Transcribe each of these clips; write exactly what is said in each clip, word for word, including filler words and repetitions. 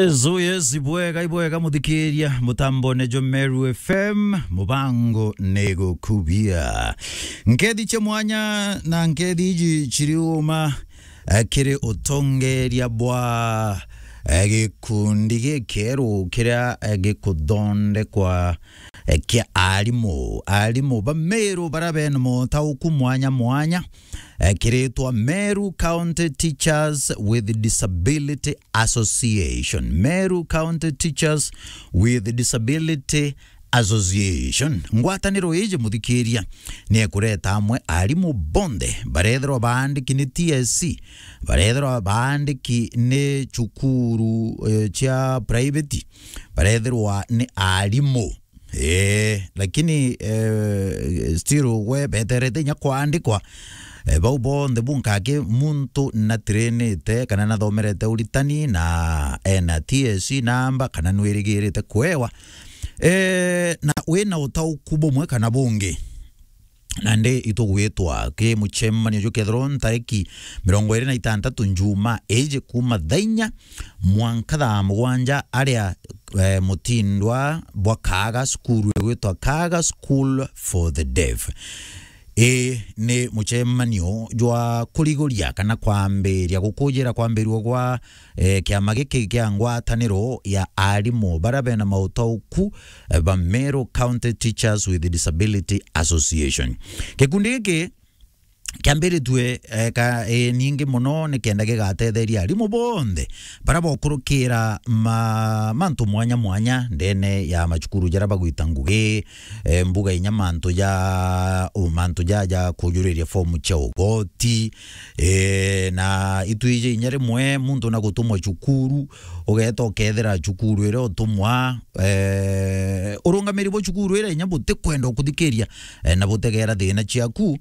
Yes, oh yes, ibwega, ibwega muthikiria, mutambone jo Meru F M, mubango ni gukubia. Nkethi cia mwanya na nkethi iji ciriuma, eh, kiri utongeria bwa, eh, gikundi gikeru kiria, eh, gikuthondekwa, eh, kia arimu. Arimu ba Meru bara bena motauku mwanya mwanya, eh, kiritwa Meru County Teachers with Disability Association. Meru County Teachers with Disability Association. Ngwataniro iji, muthikiria, ni ekureta amwe arimu bonthe barethirwa baandiki ni T S C, barethirwa baandiki ni cukuru, eh, cia private, barethirwa ni arimu. Eh, lakini, eh, still we beterete inya kwandikwa. Eh, bau bonthe bunkaki muntu natrainite kana nathomerete uritani na ena T S C namba kana nwirigirite kwewa. Eh, na wina utauku bumwe kana bungi. Nandi itugwitwa ki mucemanio jukethirwa ntariki mirongo iri na itantatu njuma iji kuma thaa inya mwanka thaa mugwanja aria, eh, mutindwa bwa Kaaga, cukuru igwitwa Kaaga School for the Deaf. Ii ni mucemanio jwa kuriguria kana kwambiria gukujira kwambirua gwa eh, kiama giki kia ngwataniro ya arimu bara bena mautauku, eh, ba Meru County Teachers with Disability Association. Gikundi giki kiambiritue, eh, ka, eh, ningi muno nikenda gigatetheria arimu bonthe bara bokurukira ma, mantu mwanya mwanya ndene ya macukuru jara bagwita ngugi, eh, mbuga inya mantu ja, u, mantu ja, ja kujuriria fomu cia ugoti, eh, na itwiji inya rimwe muntu na gutumwa cukuru, ugeta ukethira cukuru iria utumwa, eh, urungamiri bwa cukuru iria inya butikwenda ukuthikiria, eh, na butegera thina ciaku,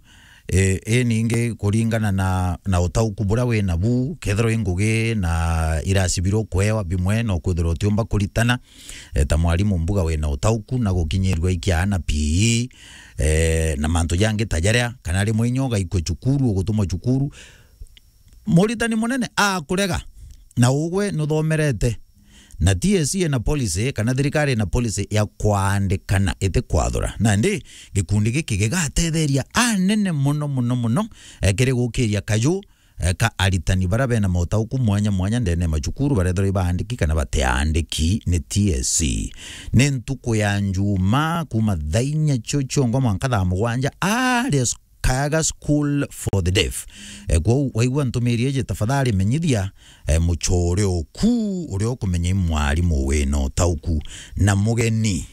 eh, i ningi kuringana na, na utauku buria wi nabu, kethirwa i ngugi na irasi biria ukwewa bimwe no kwithirwa utiumba kuritana, eh, ta mwarimu mbuga wina utauku na gukinyirua ikia na P E, eh, na mantu jangi ta jaria, kana rimwe inya ugaikua cukuru, ugutumwa cukuru, muritani munene akurega, na ugwe nuthomerete, na T S C ina policy, kana thirikari ina policy ya kwandikana iti kwathura. Nandi gikundi giki gigatetheria anene muno, muno, muno, eh, kiri gukiria kaju, eh, ka aritani bara bena mautauku mwanya mwanya ndene ya macukuru, barethirwa ibaandiki kana batiandiki ni T S C. Ni ntuku ya Njuma kuma thaa inya cio ciongo mwanka thaa mugwanja aria s-, Kaaga School for the Deaf. Eh, kwou waigua ntumiri iji, tafadhali menyithia, eh, muchore oku uria ukumenya i mwarimu wina utauku na mugeni.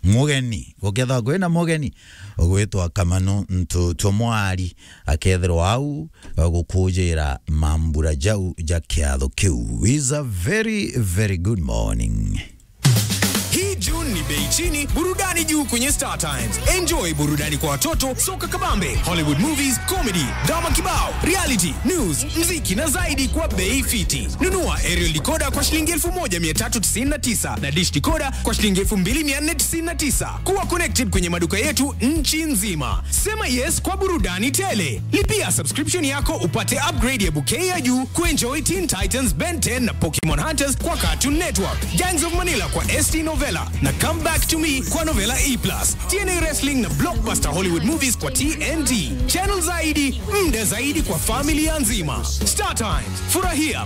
Mugeni, gukethirwa kwina mugeni ugwitwa Kamano Ntu Twamwari, akethirwa au, eh, gukujira mambura jau ja kiatho kiu. Is a very, very good morning. Hii June ni bei chini, burudani juu kwenye Star Times. Enjoy burudani kwa watoto, soka kabambe, Hollywood movies, comedy, drama kibao, reality, news, mziki na zaidi kwa bei fiti. Nunua aerial decoder kwa shilingi elfu moja mia tatu tisini na tisa na dish decoder kwa shilingi elfu mbili mia nne tisini na tisa. Kuwa connected kwenye maduka yetu nchi nzima. Sema yes kwa burudani tele. Lipia subscription yako upate upgrade ya bouquet ya juu kuenjoy Teen Titans, Ben ten na Pokemon Hunters kwa Cartoon Network, Gangs of Manila kwa S T Novella na Come Back to Me kwa Novella E plus, T N A Wrestling na blockbuster Hollywood movies kwa T N T. Channel zaidi, muda zaidi kwa familia nzima. Star Times, furahia